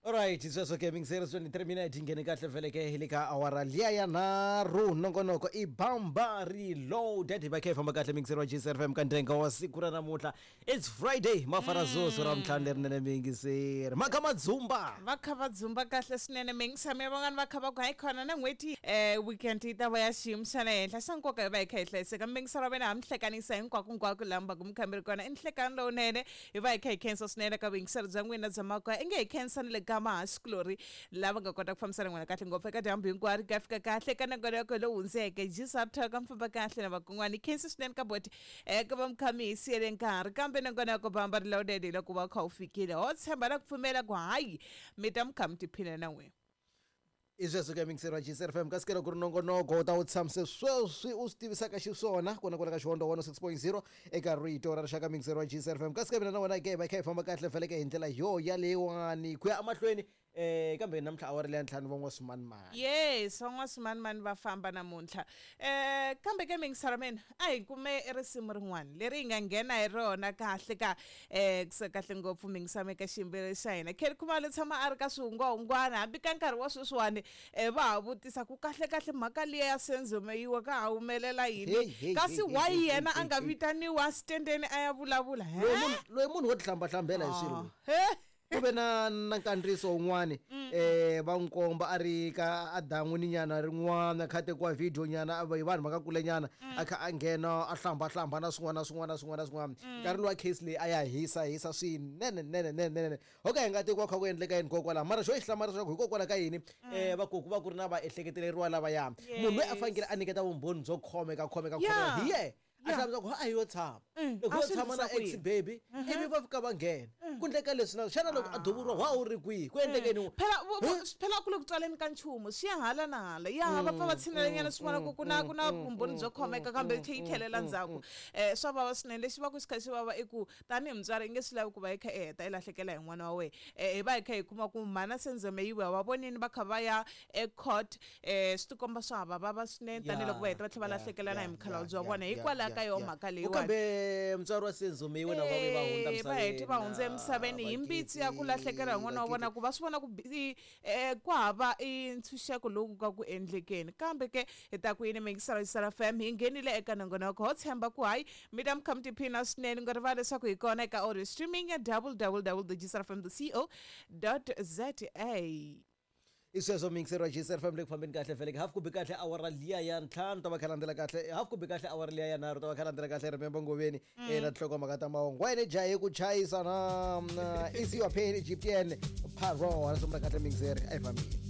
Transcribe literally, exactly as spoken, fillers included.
Alright, sweswo ke mingiseri twenty-three minutes nghene kahle vele ke hi le ka awara liya ya nharhu nongonoko i Bamba Reloaded hi va kha hi famba kahle mingiseri wa G S F M ka ndenga wa siku ra namuntlha. It's Friday, mafara zozo ra ntlhanu lerinene mingiseri maka madzumba va kha va dzumba kahle swinene mingisami ya van'wana va kha va ku hayi khona na n'hweti eh weekend yi ta va ya xiyimo xa le henhla xa nkoka hi va hi kha hi hlayiseka mingiseri wa vena ha mi hlekanisa hinkwako hinkwako laha mi va ku mi khamberi kona i nhlekani lowunene hi va hi kha hi khensa swinene ka vuyingiseri bya n'wina bya makoya i nge hi khensa ni le ka mahaxikulori lava nga kota ku fambisana n'wina kahle ngopfu eka dyambu hinkwaro ka fika kahle ka nongonoko lowu hundzeke jisathoka mi famba kahle na vakun'wana hi khensi swinene ka boti eka va mukhami hi siyele nkarhi kambe nongonoko Bamba Reloaded hi loko va kha wu fikile ho tshemba na ku pfumela ku hayi mi ta mi kha mi tiphina na n'wina. I sweswo ke mingiseri wa G S F M kasi ke loko ku ri nongonoko u ta wu tshamise sweswi u swi tivisaka xiswona kona kwala ka Xihondo one oh six point zero eka rito ra rixaka mingiseri wa G S F M kasi ke mina na wena ke hi va hi kha hi famba kahle vhele ke hi ndlela yo yaleyiwani ku ya emahlweni eh kambe namuntlha awara leya ntlhanu van'waswimanimani. Yes, van'waswimanimani va famba namuntlha eh kambe ke mingiseri mina a hi kume risimu rin'wana leri hi nga nghena hi rona kahle ka eh kusuka kahle ngopfu mingisame ka xiyimbeleri xa hina Kelly Khumalo tshama a ri ka swihungwahungwana hambi ka nkarhi wa sweswiwani eh va ha vutisa ku kahle kahle mhaka liya ya Senzo Meyiwa ka ha humelela yini kasi why yena a nga vitaniwa stendeni a ya vulavula loyi munhu wo tihlamba-hlambela hi swilo ku ve na na nkandziyiso wun'wani eh va n'wi komba a ri ka a dan'wini nyana rin'wana kha tekiwa video nyana hi vanhu va ka kule nyana a kha a nghena a hlamba hlamba na swin'wana na swin'wana na swin'wana na swin'wana nkarhi luwa case leyi a ya hisa hisa swinene nene nene nene ho ka hi nga tekiwa kha ku endleka yini kokwalaho mara xo yi hlamarisa leswaku hikokwalaho ka yini eh vakoku va ku ri na vaehleketeleriwa lavaya munhu loyi a fanekele a nyiketa vumbhoni byo khomeka khomeka khomeka hi yena a hlamusela ku a hi yo tshama loko yo tshama na ex baby ivi va fika va nghena ku endleka leswi na xana loko a duvuriwa wa wu ri kwihi ku endleke yini phela phela ku le ku tswaleni ka nchumu swi ya hala na hala ya va pfa va tshinelenyana swi vona ku ku na ku na vumbhoni byo khomeka kambe yi tlhe yi tlhelela ndzhaku um swa vava swinene lexi va ku xi kha xi vava i ku tanihi mutswari i nge swi lavi ku va hi kha i heta i lahlekela hi n'wana wa wena um hi va hi kha hi kuma ku mhana Senzo Meyiwa va vonini va kha va ya ecourt um swi tikomba swa ha va vava swinene tanihiloko va heta va tlhela va lahlekela na hi mukhalabye wa vona hikwalaho ka yo mhaka leyiwani kambe mutswari wa Senzo Meyiwa na va va hundza misaveni va heti va hundze emisaveni hi mbitsi ya ku lahlekela hi n'wana wa vona ku va swi vona ku ku hava i ntshunxeko lowu ka ku endlekeni kambe ke hi ta ku yini mingisela G S F M hi nghenile eka nongonoko ho tshemba ku hayi mi ta mi kha mi tiphina swinene nga rivali leswaku hi kona eka audio streaming ya w w w dot g s f m dot co dot z a. I sweswo mingiseri wa G S F M le ku fambeni kahle vhele half ku bi kahle awara liya ya ntlhanu ta va kha landzela kahle half ku bi kahle awara liya ya nharhu ta va kha landzela kahle remember ngoveni eh na tinhlokomhaka ta mahungu wena jahe ku chayisa na na is your pain Egyptian parole sungula kahle mingiseri a hi fambeni.